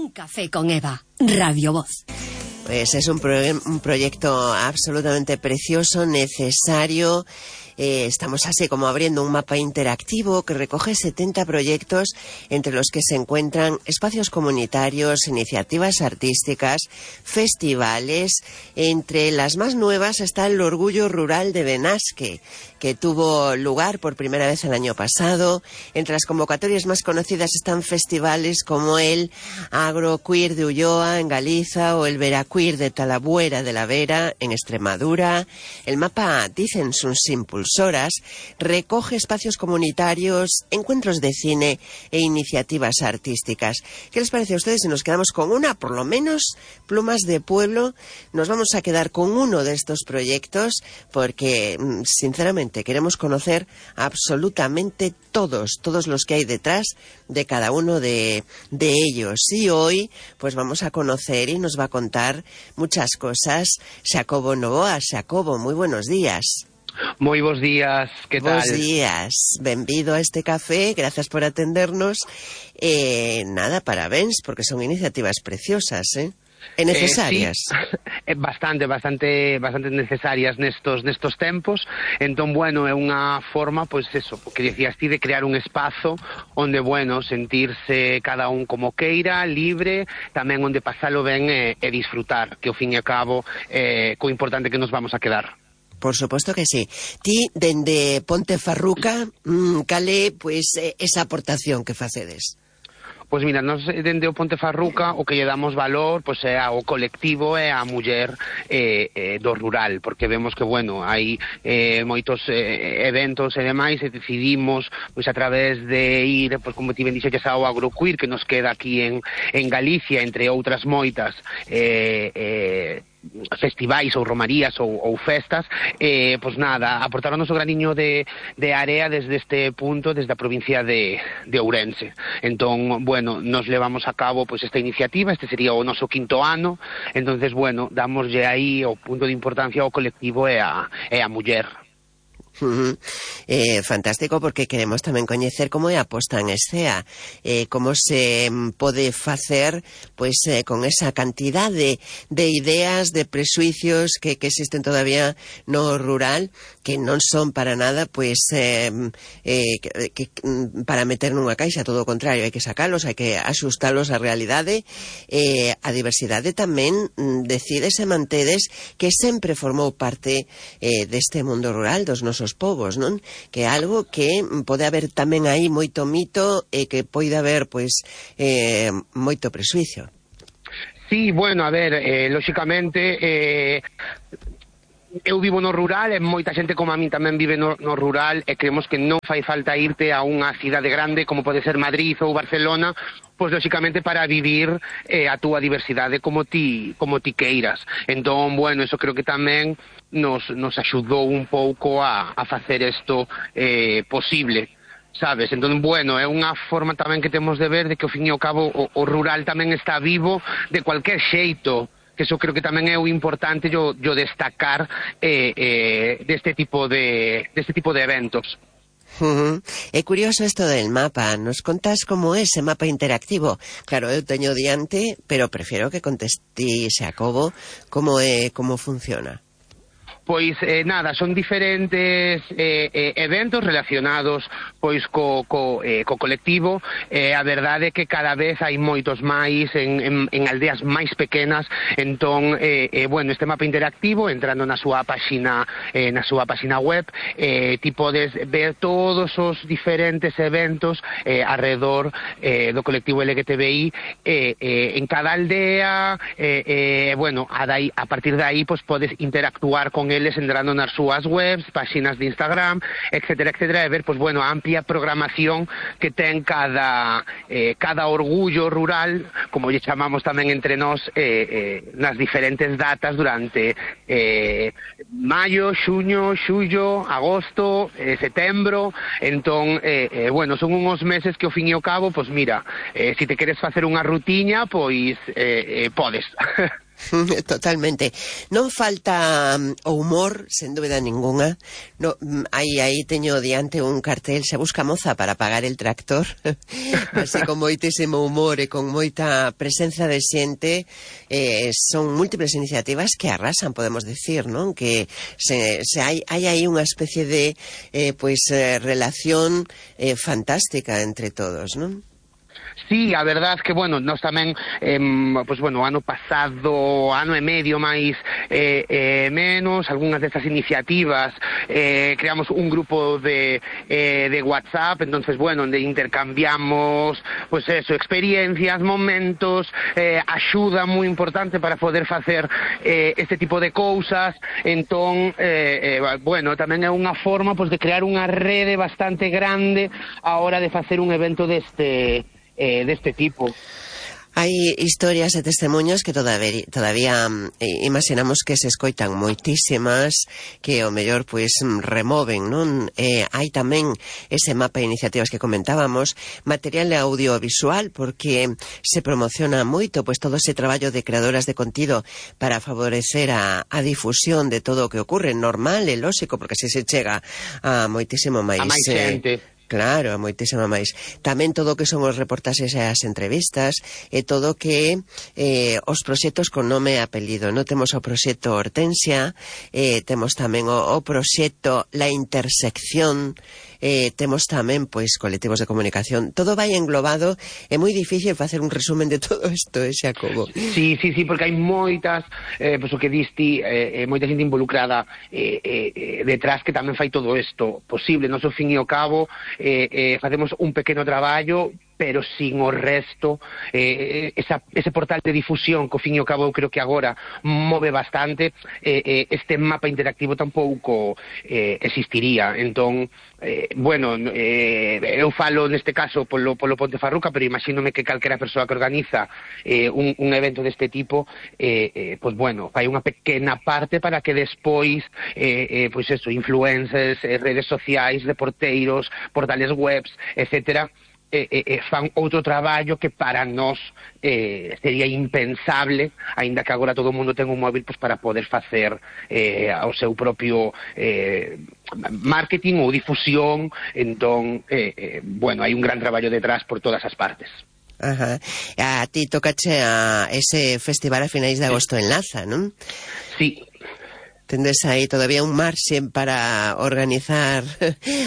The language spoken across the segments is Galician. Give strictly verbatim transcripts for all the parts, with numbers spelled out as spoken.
Un café con Eva, Radio Voz. Pues es un, pro un proyecto absolutamente precioso, necesario. Eh, estamos así como abriendo un mapa interactivo que recoge setenta proyectos, entre los que se encuentran espacios comunitarios, iniciativas artísticas, festivales. Entre las más nuevas está el Orgullo Rural de Benasque, que tuvo lugar por primera vez el año pasado. Entre las convocatorias más conocidas están festivales como el Agroqueer de Ulloa, en Galiza, o el Veraqueer de Talabuera de la Vera, en Extremadura. El mapa, dicen sus impulsoras, recoge espacios comunitarios, encuentros de cine e iniciativas artísticas. ¿Qué les parece a ustedes si nos quedamos con una, por lo menos, Plumas de Pueblo? Nos vamos a quedar con uno de estos proyectos porque, sinceramente, queremos conocer absolutamente todos, todos los que hay detrás de cada uno de, de ellos. Y hoy, pues vamos a conocer y nos va a contar muchas cosas Xacobo Novoa. Xacobo, muy buenos días. Moi bons días, que tal? Bos días, benvido a este café, gracias por atendernos. Eh, nada, parabéns, porque son iniciativas preciosas, eh? E necesarias. Eh, sí, bastante, bastante, bastante necesarias nestos nestos tempos. Entón, bueno, é unha forma, pois eso, que decías ti, de crear un espazo onde, bueno, sentirse cada un como queira, libre, tamén onde pasalo ben e, e disfrutar, que ao fin e ao cabo é eh, co importante que nos vamos a quedar. Por suposto que sí. Ti, dende Pontefarruca, mmm, cale, pois, esa aportación que facedes? Pois mira, nos dende o Pontefarruca o que lle damos valor pois é ao colectivo e á muller eh, eh, do rural, porque vemos que, bueno, hai eh, moitos eh, eventos e demais, e decidimos, pois a través de ir, pois como ti ben dixeches, ao Agroqueer, que nos queda aquí en, en Galicia, entre outras moitas, eh, eh, festivais ou romarías ou, ou festas, eh, pois nada, aportar o noso graniño de, de area desde este punto, desde a provincia de, de Ourense. Entón, bueno, nos levamos a cabo pois esta iniciativa, este sería o noso quinto ano, entonces, bueno, damoslle aí o punto de importancia ao colectivo e a, e a muller. Uh-huh. eh, fantástico, porque queremos tamén coñecer como é a posta en escena, eh, como se pode facer pois eh, con esa cantidad de, de ideas, de presuicios que, que existen todavía no rural, que non son para nada pois eh, eh, que, que, para meter nunha caixa, todo o contrario, hai que sacalos, hai que axustalos á realidade. eh, a diversidade tamén decides e mantedes que sempre formou parte eh, deste mundo rural, dos nosos povos, non? Que é algo que pode haber tamén aí moito mito e que pode haber, pois, eh, moito presuicio. Sí, bueno, a ver, eh, lóxicamente, eh, eu vivo no rural e moita xente como a min tamén vive no, no rural, e creemos que non fai falta irte a unha cidade grande como pode ser Madrid ou Barcelona, pois lóxicamente para vivir eh, a túa diversidade como ti, como ti queiras. Entón, bueno, eso creo que tamén nos, nos axudou un pouco a, a facer isto eh, posible, sabes? Entón, bueno, é unha forma tamén que temos de ver de que ao fin e ao cabo o, o rural tamén está vivo de cualquier xeito, que eso creo que tamén é o importante yo, yo destacar eh, eh, deste tipo de, deste tipo de eventos. Uh-huh. É curioso isto del mapa. Nos contas como é ese mapa interactivo? Claro, eu teño diante, pero prefiero que conteste Xacobo como é, como funciona. Pois, eh, nada, son diferentes eh, eh, eventos relacionados pois co, co, eh, co colectivo. Eh, a verdade é que cada vez hai moitos máis en, en, en aldeas máis pequenas. Entón, eh, eh, bueno, este mapa interactivo, entrando na súa páxina, eh, na súa páxina web, eh, ti podes ver todos os diferentes eventos eh, alrededor eh, do colectivo L G T B I eh, eh, en cada aldea. eh, eh, bueno, a, dai, a partir de aí pois podes interactuar con eles entrando nas súas webs, páxinas de Instagram, etcétera, etcétera, e ver, pois, bueno, a amplia programación que ten cada, eh, cada orgullo rural, como lle chamamos tamén entre nós, eh, eh, nas diferentes datas durante eh, maio, xuño, xullo, agosto, eh, setembro. Entón, eh, eh, bueno, son uns meses que ao fin e ao cabo, pois mira, eh, se te queres facer unha rutiña, pois eh, eh, podes. Totalmente. Non falta um, o humor, sen dúbida ninguna. No, um, aí, aí teño diante un cartel, se busca moza para pagar el tractor. Así con moitísimo humor e con moita presenza de xente. Eh, son múltiples iniciativas que arrasan, podemos decir, non? Que se, se hai, hai aí unha especie de eh, pois, eh, relación eh, fantástica entre todos, non? Sí, a verdad que, bueno, nós tamén, eh, pues, bueno, ano pasado, ano e medio máis eh, eh, menos, algunhas destas iniciativas, eh, creamos un grupo de, eh, de WhatsApp, entonces, bueno, onde intercambiamos, pues eso, experiencias, momentos, eh, axuda moi importante para poder facer eh, este tipo de cousas, entón, eh, eh, bueno, tamén é unha forma, pues, de crear unha rede bastante grande a hora de facer un evento deste... Eh, deste tipo. Hai historias e testemunhos que todavía, todavía eh, imaginamos que se escoitan moitísimas, que o mellor pois removen, non? Eh, hai tamén ese mapa de iniciativas que comentábamos, material audiovisual, porque se promociona moito pois todo ese traballo de creadoras de contido para favorecer a, a difusión de todo o que ocorre, normal e lóxico, porque así se chega a moitísimo máis... A máis xente. Eh, Claro, moitísimo máis. Tamén todo o que son os reportaxes e as entrevistas e todo o que eh, os proxectos con nome e apelido. Non temos o proxecto Hortensia, eh, temos tamén o, o proxecto La Intersección, eh, temos tamén pois colectivos de comunicación. Todo vai englobado, é moi difícil facer un resumen de todo isto, eh, Xacobo. Sí, sí, sí, porque hai moitas, eh, pois o que diste, eh, moita xente involucrada eh, eh, detrás que tamén fai todo isto posible. Nos, ao fin e ao cabo, Eh, eh, facemos un pequeno traballo, pero sin o resto, eh, esa, ese portal de difusión que ao fin e ao cabo eu creo que agora move bastante, eh, eh, este mapa interactivo tampouco eh, existiría. Entón, eh, bueno, eh, eu falo neste caso polo, polo Pontefarruca, pero imagínome que calquera persoa que organiza eh, un, un evento deste tipo, eh, eh, pois bueno, fai unha pequena parte para que despois, eh, eh, pois eso, influencers, eh, redes sociais, reporteiros, portales webs, etcétera, Eh, eh, fan outro traballo que para nós eh, sería impensable, aínda que agora todo o mundo ten un móvil pues, para poder facer eh, o seu propio eh, marketing ou difusión. Entón, eh, eh, bueno, hai un gran traballo detrás por todas as partes. Ajá. A ti tocache a ese festival a finais de agosto en Laza, non? Sí. Tendes aí todavía un marxen para organizar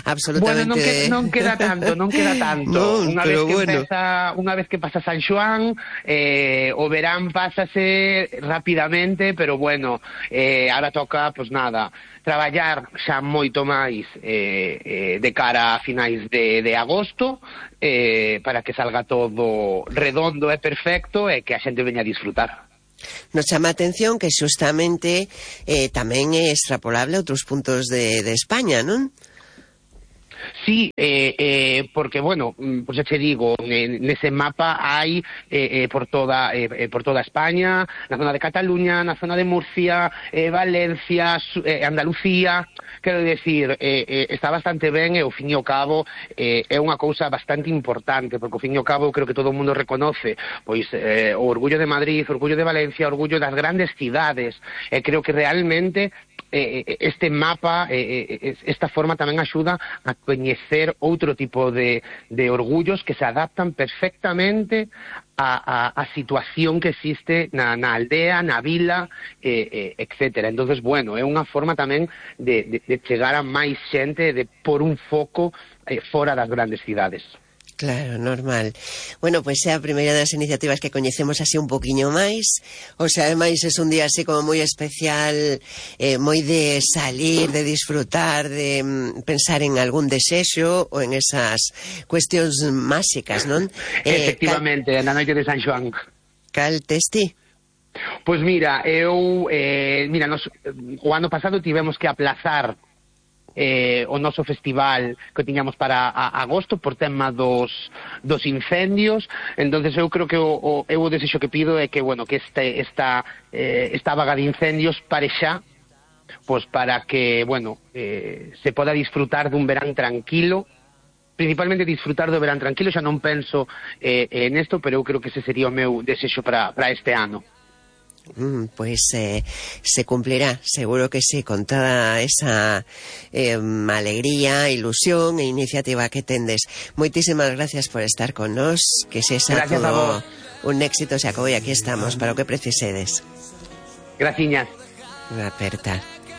absolutamente... Bueno, non, que, non queda tanto, non queda tanto. Non, unha pero vez que bueno. empeza, unha vez que pasa San Xoán, eh, o verán pásase rapidamente, pero bueno, eh, ahora toca, pues nada, traballar xa moito máis eh, eh, de cara a finais de, de agosto, eh, para que salga todo redondo e perfecto e que a xente veña a disfrutar. Nos chama a atención que xustamente eh, tamén é extrapolable a outros puntos de, de España, non? Sí, eh, eh, porque, bueno, pues ya te digo, nese mapa hai eh, eh, por toda eh, por toda España, na zona de Cataluña, na zona de Murcia, eh, Valencia, eh, Andalucía. Quero decir, eh, eh, está bastante ben e, ao fin e ao cabo, eh, é unha cousa bastante importante, porque, ao fin e ao cabo, creo que todo o mundo reconoce pois eh, o orgullo de Madrid, o orgullo de Valencia, o orgullo das grandes cidades, e creo que realmente eh, este mapa, eh, esta forma tamén axuda a coñecer outro tipo de, de orgullos que se adaptan perfectamente a, a, a situación que existe na, na aldea, na vila, eh, eh, etcétera. Entonces, bueno, é unha forma tamén de, de, de chegar a máis xente, de por un foco eh, fora das grandes cidades. Claro, normal. Bueno, pois pues é a primeira das iniciativas que coñecemos así un poquinho máis. O sea, ademais é un día así como moi especial, eh, moi de salir, de disfrutar, de mm, pensar en algún desexo ou en esas cuestións máxicas, non? Eh, Efectivamente, cal... na noite de San Xoán. Cal tes ti? Pois mira, eu, eh, mira, nos, o ano pasado tivemos que aplazar Eh, o noso festival que tiñamos para a, agosto por tema dos, dos incendios. Entonces eu creo que o, o, eu o desexo que pido é que, bueno, que este, esta, eh, esta vaga de incendios pare xa, pues para que, bueno, eh, se poda disfrutar dun verán tranquilo, principalmente disfrutar do verán tranquilo. Xa non penso eh, en isto, pero eu creo que ese sería o meu desexo para, para este ano. pues eh, se cumplirá, seguro que sí, con toda esa eh, alegría, ilusión e iniciativa que tendes. Moitísimas gracias por estar con nos, que se xa todo un éxito se acabou e aquí estamos para o que precisedes. Graciñas. Aperta.